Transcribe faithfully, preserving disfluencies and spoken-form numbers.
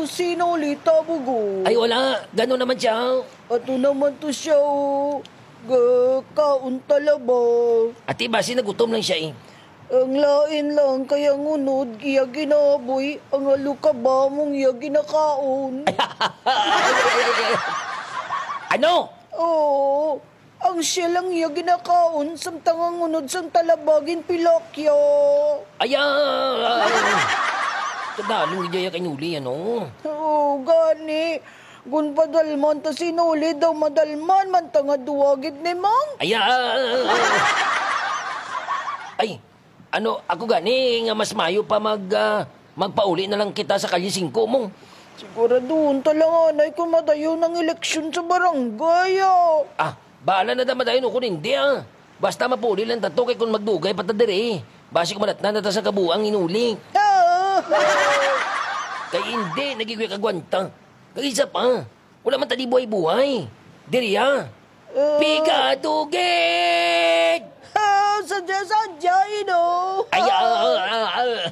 Sino ulit, Bugo? Ay, wala. Gano naman siya? Ato naman to siya, oh. Gakaon talaba. Ati, basi nagutom lang siya, eh. Ang lain lang kay ang unod iya ginaboy, ang alukaba mong iya ginakaon. Ano? Oo, ang siya lang iya ginakaon, samtang ang unod sang talaba ginpilakya. Ay, ah, kadalong gid iya kay Nuli, ano? Oo, gani. Gun padalman ta si Nuli daw, madalman man ta nga duwa gid ni Mang. Ay, ah, ay, ano, ako gani nga mas mayo pa mag, ah, magpauli na lang kita sa Kalye Singko, Mong. Siguraduhon ta lang, anay, kung madayon ang eleksyon sa barangay, ah. Ah, bahala na ta madayon o kung hindi, ah. Basta mapauli lang ta to, kay kung magdugay pa ta diri, basi kumadatnan na ta sa kabuang inuli. Ah! Kay hindi na gid ko kagwanta. Kag isa pa, wala man ta di buhay-buhay. Diri, ah. Ah. Pigatugid! Ah, sadya-sadya, ino. Ay, ah, ah, ah, ah.